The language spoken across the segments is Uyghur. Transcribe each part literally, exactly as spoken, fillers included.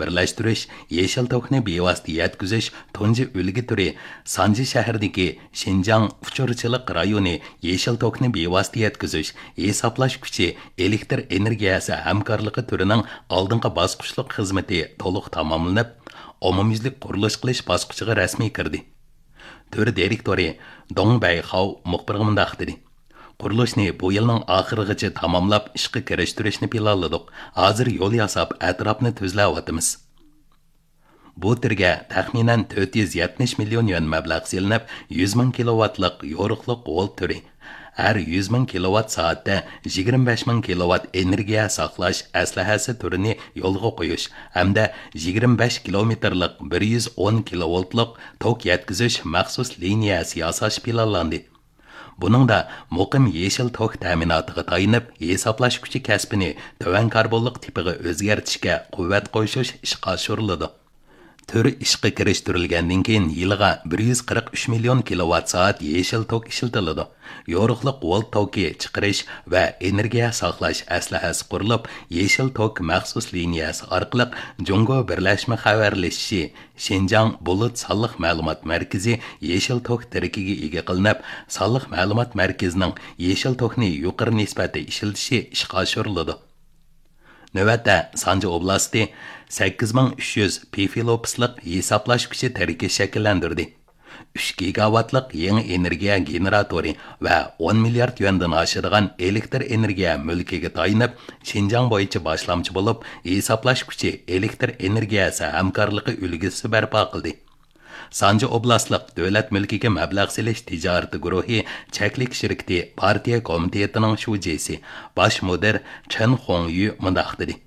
بىرلەشتۈرۈش، يېشىل توكنى بىۋاسىتە يەتكۈزۈش تۇنجى ئۈلگە تۈرى سانجى شەھىرىدىكى شىنجاڭ ئۇچۇرچىلىق رايونى يېشىل توكنى بىۋاسىتە يەتكۈزۈش، ھېسابلاش كۈچى، ئېلېكتر ئېنېرگىيەسى ھەمكارلىقى تۈرىنىڭ ئالدىنقى باسقۇچلۇق خىزمىتى تولۇق تاماملىنىپ، ئومۇميۈزلۈك قۇرۇلۇش قىلىش باسقۇچىغا رەسمىي كىردى. تۈر دىرېكتورى دۇڭ بەيخاۋ مۇخبىرغا مۇنداق دېدى: «قۇرۇلۇشنى بۇ يىلنىڭ ئاخىرىغىچە تاماملاپ، ئىشقا كىرىشتۈرۈشنى پىلانلىدۇق. ھازىر يول ياساپ، ئەتراپنى تۈزلەۋاتىمىز.» بۇ تۈرگە تەخمىنەن تۆت يۈز يەتمىش مىليون يۈەن مەبلەغ سېلىنىپ، يۈز مىڭ كىلوۋاتلىق يورۇقلۇق ۋولت تۈرى، ھەر يۈز مىڭ كىلوۋات سائەتتە يىگىرمە بەش مىڭ كىلوۋات ئېنېرگىيە ساقلاش ئەسلىھەسى تۈرىنى يولغا قويۇش ھەمدە يىگىرمە بەش كىلومېتىرلىق بىر يۈز ئون كىلوۋولتلۇق توك يەتكۈزۈش مەخسۇس لىنىيەسى ياساش پىلانلاندى. بۇنىڭدا مۇقىم يېشىل توك تەمىناتىغا تايىنىپ، ھېسابلاش كۈچى كەسپىنى تۆۋەن كاربونلۇق تىپىغا ئۆزگەرتىشكە قۇۋۋەت قوشۇش ئىشقا ئاشۇرۇلىدۇ. تۈر ئىشقا كىرىشتۈرۈلگەندىن كېيىن، يىلىغا بىر يۈز قىرىق ئۈچ مىليون كىلوۋات سائەت يېشىل توك ئىشلىتىلىدۇ. يورۇقلۇق ۋولت توكى چىقىرىش ۋە ئېنېرگىيە ساقلاش ئەسلىھەسى قۇرۇلۇپ، يېشىل توك مەخسۇس لىنىيەسى ئارقىلىق جۇڭگو بىرلەشمە خەۋەرلىشىشى شىنجاڭ بۇلۇت سانلىق مەلۇمات مەركىزى يېشىل توك تىرىكىگە ئىگە قىلىنىپ، سانلىق مەلۇمات مەركىزىنىڭ يېشىل توكنى يۇقىرى نىسبەتتە ئىشلىتىشى ئىشقا ئاشۇرۇلىدۇ. نۆۋەتتە سانجى ئوبلاستى سەككىز مىڭ ئۈچ يۈز پىفىلوپسلىق ھېسابلاش كۈچى تىرىكى شەكىللەندۈردى. ئۈچ گىگاۋاتلىق يېڭى ئېنېرگىيە گېنېراتورى ۋە ئون مىليارد يۈەندىن ئاشىدىغان ئېلېكتر ئېنېرگىيە مۈلكىگە تايىنىپ، شىنجاڭ بويىچە باشلامچى بولۇپ، ھېسابلاش كۈچى ئېلېكتر ئېنېرگىيەسى ھەمكارلىقى ئۈلگىسى بەرپا قىلدى. سانجى ئوبلاستلىق دۆلەت مۈلكىگە مەبلەغ سېلىش تىجارىتى گۇرۇھى چەكلىك شىركىتى پارتىيە كومىتېتىنىڭ شۇجىسى، باش مۇدىر چېن خۇڭيۈ مۇنداق دېدى: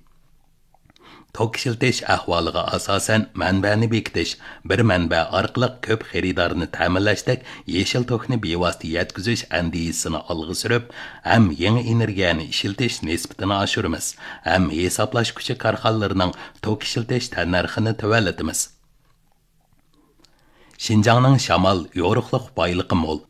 توك ئىشلىتىش ئەھۋالىغا ئاساسەن، مەنبەنى بېكىتىش، بىر مەنبە ئارقىلىق كۆپ خېرىدارنى تەمىنلەشتەك يېشىل توكنى بىۋاسىتە يەتكۈزۈش ئەندىزىسىنى ئالغا سۈرۈپ، ھەم يېڭى ئېنېرگىيەنى ئىشلىتىش نىسبىتىنى ئاشۇرىمىز، ھەم ھېسابلاش كۈچى كارخانىلىرىنىڭ توك ئىشلىتىش تەننەرخىنى تۆۋەنلىتىمىز. شىنجاڭنىڭ شامال، يورۇقلۇق بايلىقى مول.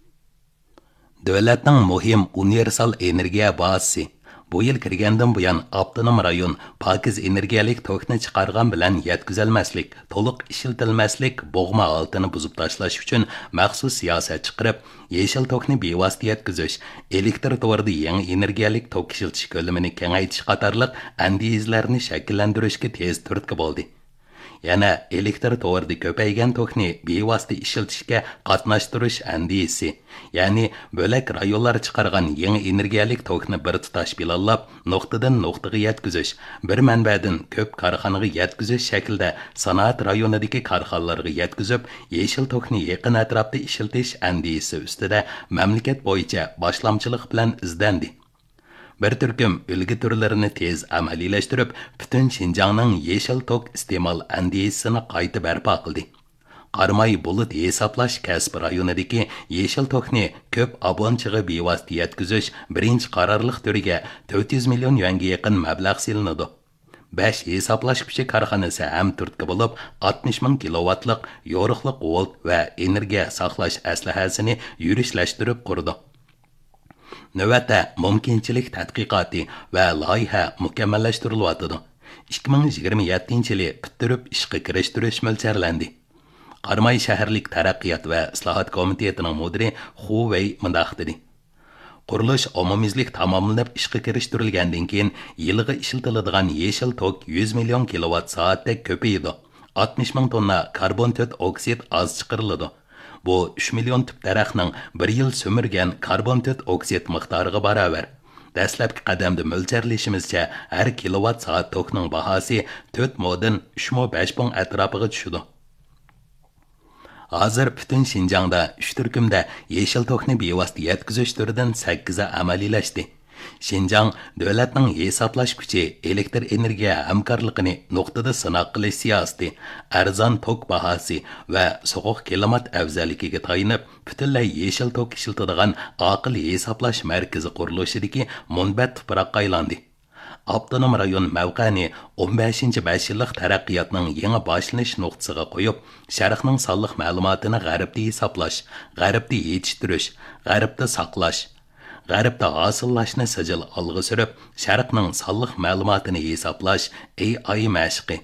دۆلەتنىڭ مۇھىم ئۇنىۋېرسال ئېنېرگىيە بازىسى. بۇ يىل كىرگەندىن بۇيان، ئاپتونوم رايون پاكىز ئېنېرگىيەلىك توكنى چىقارغان بىلەن يەتكۈزەلمەسلىك، تولۇق ئىشلىتەلمەسلىك بوغما ھالىتىنى بۇزۇپ تاشلاش ئۈچۈن مەخسۇس سىياسەت چىقىرىپ، يېشىل توكنى بىۋاسىتە يەتكۈزۈش، ئېلېكتر تورىدا يېڭى ئېنېرگىيەلىك توك ئىشلىتىش كۆلىمىنى كېڭەيتىش قاتارلىق ئەندىزىلەرنى شەكىللەندۈرۈشكە تېز تۈرتكە بولدى. يەنە ئېلېكتر تورىدا كۆپەيگەن توكنى بىۋاسىتە ئىشلىتىشكە قاتناشتۇرۇش ئەندىزىسى، يەنى بۆلەك رايونلار چىقارغان يېڭى ئېنېرگىيەلىك توكنى بىر تۇتاش پىلانلاپ، نۇقتىدىن نۇقتىغا يەتكۈزۈش، بىر مەنبەدىن كۆپ كارخانىغا يەتكۈزۈش شەكلىدە سانائەت رايونىدىكى كارخانىلارغا يەتكۈزۈپ، يېشىل توكنى يېقىن ئەتراپتا ئىشلىتىش ئەندىزىسى ئۈستىدە مەملىكەت بويىچە باشلامچىلىق بىلەن ئىزدەندى. بىر تۈركۈم ئۈلگە تۈرلىرىنى تېز ئەمەلىيلەشتۈرۈپ، پۈتۈن شىنجاڭنىڭ يېشىل توك ئىستېمال ئەندىزىسىنى قايتا بەرپا قىلدى. قاراماي بۇلۇت ھېسابلاش كەسپى رايونىدىكى يېشىل توكنى كۆپ ئابونتچىغا بىۋاسىتە يەتكۈزۈش بىرىنچى قارارلىق تۈرىگە تۆت يۈز مىليون يۈەنگە يېقىن مەبلەغ سېلىنىدۇ. بەش ھېسابلاش كۈچى كارخانىسى ھەم تۈرتكە بولۇپ، ئاتمىش مىڭ كىلوۋاتلىق يورۇقلۇق ۋولت ۋە ئېنېرگىيە ساقلاش ئەسلىھەسىنى يۈرۈشلەشتۈرۈپ قۇرىدۇ. نۆۋەتتە مۇمكىنچىلىك تەتقىقاتى ۋە لايىھە مۇكەممەللەشتۈرۈلۈۋاتىدۇ. ئىككى مىڭ يىگىرمە يەتتىنچى يىلى پۈتتۈرۈپ ئىشقا كىرىشتۈرۈش مۆلچەرلەندى. قاراماي شەھەرلىك تەرەققىيات ۋە ئىسلاھات كومىتېتىنىڭ مۇدىرى خۇ ۋېي مۇنداق دېدى: قۇرۇلۇش ئومۇميۈزلۈك تاماملىنىپ ئىشقا كىرىشتۈرۈلگەندىن كېيىن، يىلىغا ئىشلىتىلىدىغان يېشىل توك يۈز مىليون كىلوۋات سائەتتەك كۆپىيىدۇ. ئاتمىش مىڭ توننا كاربون تۆت ئوكسىد ئاز چىقىرىلىدۇ. بۇ ئۈچ مىليون تۈپ دەرەخنىڭ بىر يىل سۈمۈرگەن كاربون تۆت ئوكسىد مىقدارىغا باراۋەر. دەسلەپكى قەدەمدە مۆلچەرلىشىمىزچە، ھەر كىلوۋات سائەت توكنىڭ باھاسى تۆت مودىن ئۈچ مو بەش پۇڭ ئەتراپىغا چۈشىدۇ. ھازىر پۈتۈن شىنجاڭدا ئۈچ تۈركۈمدە يېشىل توكنى بىۋاسىتە يەتكۈزۈش تۈرىدىن سەككىزى ئەمەلىيلەشتى. شىنجاڭ دۆلەتنىڭ ھېسابلاش كۈچى، ئېلېكتر ئېنېرگىيە ھەمكارلىقىنى نۇقتىدا سىناق قىلىش سىياسىتى، ئەرزان توك باھاسى ۋە سوغۇق كىلىمات ئەۋزەللىكىگە تايىنىپ، پۈتۈنلەي يېشىل توك ئىشلىتىدىغان ئاقىل ھېسابلاش مەركىزى قۇرۇلۇشىدىكى مۇنبەت تۇپراققا ئايلاندى. ئاپتونوم رايون مەۋقەنى ئون بەشىنچى بەش يىللىق تەرەققىياتنىڭ يېڭى باشلىنىش نۇقتىسىغا قويۇپ، شەرقنىڭ سانلىق مەلۇماتىنى غەربتە ھېسابلاش، غەربتە يېتىشتۈرۈش، غەربتە ساقلاش، غەربتە ھاسىللاشنى سىجىل ئالغا سۈرۈپ، شەرقنىڭ سانلىق مەلۇماتىنى ھېسابلاش، ئېي ئاي مەشىقى،